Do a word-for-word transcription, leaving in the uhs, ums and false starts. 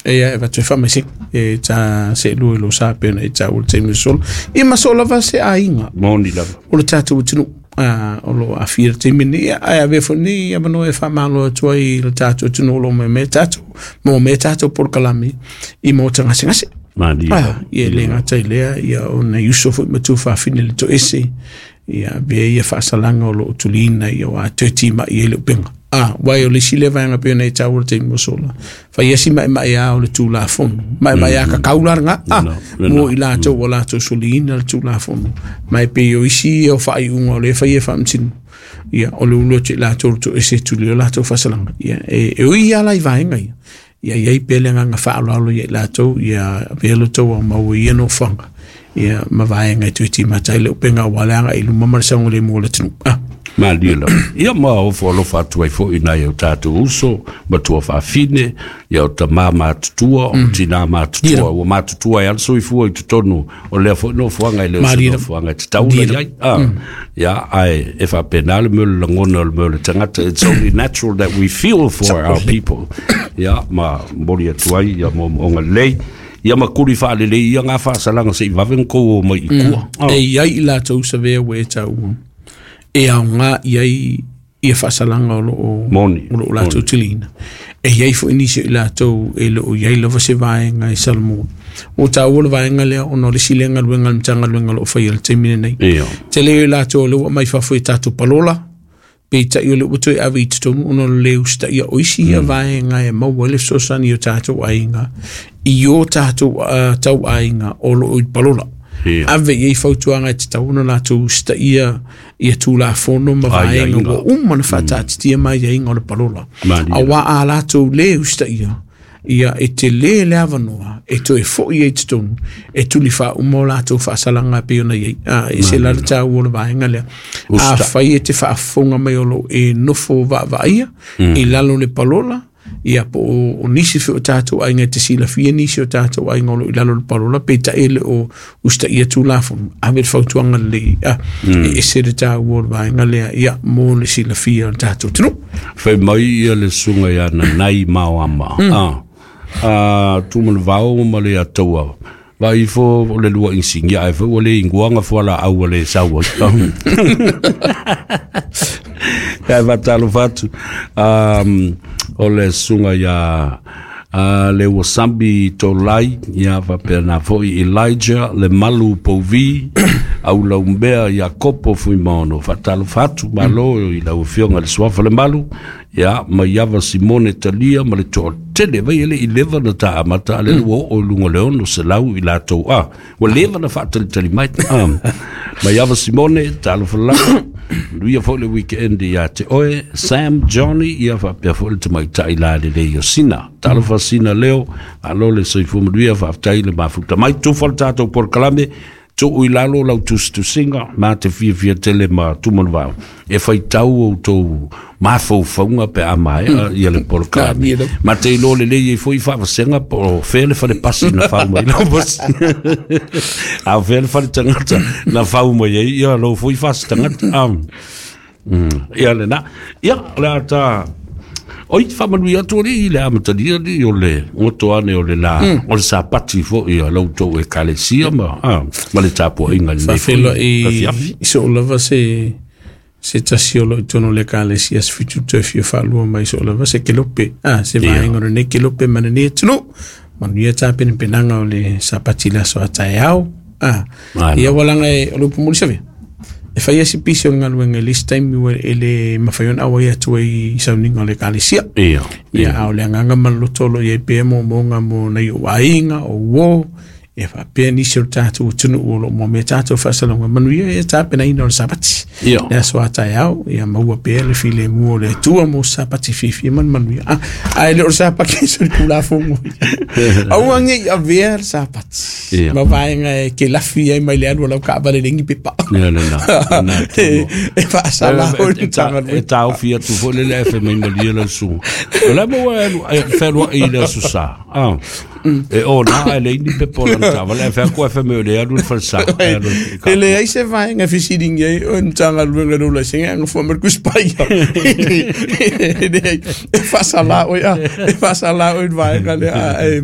Ia e avatu ai faamaisega e ta seelua i lou sa pei ona e taua i le taimi ua sola. Ia ma so lava se aiga Moni lava. o le tatou atunuu a o lo o aafia i le taimi lenei. Ia, ae avea foi lenei avanoa e faamalo atu ai i le tatou atunuu o lo o maea tatou, maua mea tatou polokalame i maota gasegase. Malie Ah, lava. ia e le gata i lea, ia o nai uso foi ma tuafafine le toese, ia avea ia faasalaga o lo o tuliina, ia ua toe timai ai le upega. Ah, uae o le isi lea vaega pei ona e taua i le taimi ua sola. Fai asi maemae a o le Tulafono. Maemae a kakau la lena. Ah, Lena, lena. mo i latou ua latou soliina le Tulafono. Ma e pei o isi ia o faaiuga o lea e fai e faamasino. Ia, o le ulu atu i latou le toese e tuli o latou faasalaga. Ia, e, e ui lava la i vaega ia. Ia i ai pea le agaga faaaloalo ia i latou, ia avea lo outou aumau i ia nofoaga. Ia, ma vaega e toe timata ai le upega aua le agai i luma ma le saogalemu o le atunuu. Ah. Malie lava. Ia ma ofo alofa atu ai foi i nai o tatou uso, matua faafine, ia o tamā matutua, o tinā matutua, ua matutua ai lava le soifua i totonu o lea foi nofoaga e le o se Malie lava. nofoaga e tatau ona i ai. Ah, ia, ae e faapena le mea o le lagona o le mea o le tagata. It's only natural that we feel for our people. Ia, ma momoli atu ai ia moomooga lelei. Ia ma kuli faalelei ia ngā faasalaga se i vave ona kou o mai i tua. Ah. E i ai i latou savea ua e taua e aoga i ai ia faasalaga o loo Moni, o loo latou tiliina. E i ai foi nisi o i latou e le o i ai lava se vaega e salomua. Ua taua le vaega lea ona o le isi lea galuega a le Matagaluega o lo o faia i le taimi lenei. Ia. Tele o i latou o lea ua aumai fafo i tatou palola, peitai o lea ua toe ave i totonu ona o le le usitaia o isi ia vaega e maua ai le fesoasoani i o tatou aiga, i o tatou uh, tau aiga o loo i palola. Ia. Ave i ai fautuaga e tatau ona latou usitaia ia Tulafono ma vaega Aiaiga. ua uma ona faataatitia mai aiaiga o le palola. Malie. Auā a latou lē usitaia, ia e telē le avanoa e toe fo'i ai i totonu e tuli faauma o latou faasalaga pei ona i ai. Ah, e se la le taua o le vaega lea. Usita. Afai e te faafofoga mai o loo e nofo vaavaaia i lalo o le palola, ia po o, o nisi foi o tatou aiga e te silafia nisi o tatou aiga o loo i lalo o le palola, peitai e le o usitaia Tulafono, ave le fautuaga lelei ah, e ese le taua o le vaega lea, ia mo le silafia o le tatou atunuu. Fai mai ia le susuga ia Nanai Maoama. Ah. Ah, Tumanavao ma le Ataua. Vai ifo o le lua insigia ai foi ua le inguaga fualaau ua le sau ai. Ia e faatalofa atu. Um, o le susuga ia uh, le Wasambi Tolai, ia faapena foi Elijah le Malu Pouvi, Aulaumea Iakopo Fuimaono. Faatalofa atu, malo i lau afioga i le Suafa le Malu, ia ma Iava Simone Talia ma le toatele vai e le i leva na taamata a le ua oo i luga o le ono selau i latou a ua leva na faatalitali mai. Ah, ma Iava Simone, talofa lava. Manuia foi le weekend ia te oe Sam Johnny, ia faapea foi le tamaitai la lelei o Sina. Talofa Sina Leo, malo le soifua manuia, faafetai le mafuta mai. Tufa le tatou polokalame, tuu i lalo lau tusitusiga ma te fiafia tele ma Tumanavao e faitau outou mafaufauga pe a maea ia le polokalame. Malie lava. Ma te iloa lelei ai foi faavasega po o fea le fale pasi na fau mai lau pasi. A o fea le fale tagata na fau mai ai ia lou foi fasi tagata. Ah. Mm. Ia lena. Ia, o le a ta oi faamanuia atu alii i le amatalia alii o le goto ane o le la o le Sapati foi a la outou ekalesia ma ah, ma le tapuaiga i lenei foi Faafeiloai afiafi. i soo lava se se tasi o loo i totonu o le ekalesia se fitu toe fia faalua mai soo lava se kelope ah, se Ia. vaega o lenei kelope ma lenei atunuu. Manuia tapenapenaga o le Sapati i le aso a taeao. Ah, Malo. ia ua laga e o le upu moli savea e fai asi pisi o le galuega i le isi taimi ua e le mafai ona auai atu ai i sauniga o le ekalesia. Ia. Ia, a o le agaga ma le loto o loo i ai pea moomooga mo nai ou aiga o uō ia faapea nisi o le tatou atunuu o loo moomia tatou faasalauga. Manuia ia tapenaina o le Sapati Ia. le aso a taeao, ia maua pea le filemu o le Atua mo se Sapati fiafia ma le manuia. Ah, ae le o le Sapati so le Tulafono aua nei avea le Sapati Ia. ma vaega e kelafi ai mai le alu o lau kaavale legi pepa Ia lena. Lena e tonu. e faasala o le E ta- e Matagaluega. taofi atu foi le le fai mai malie lau susuga. O le maua e alu e fealuai i le aso Sa. Ah. E ona e leai ni pepa o lana taavale ae fai atu ae fai mai o le alu i le falesa. E alu i E leai se vaega e fesiligia ai o le Matagaluega o laisene agafua mai le tuspaia. E leai, e faasalā oe a, e faasalā oe i le vaega lea e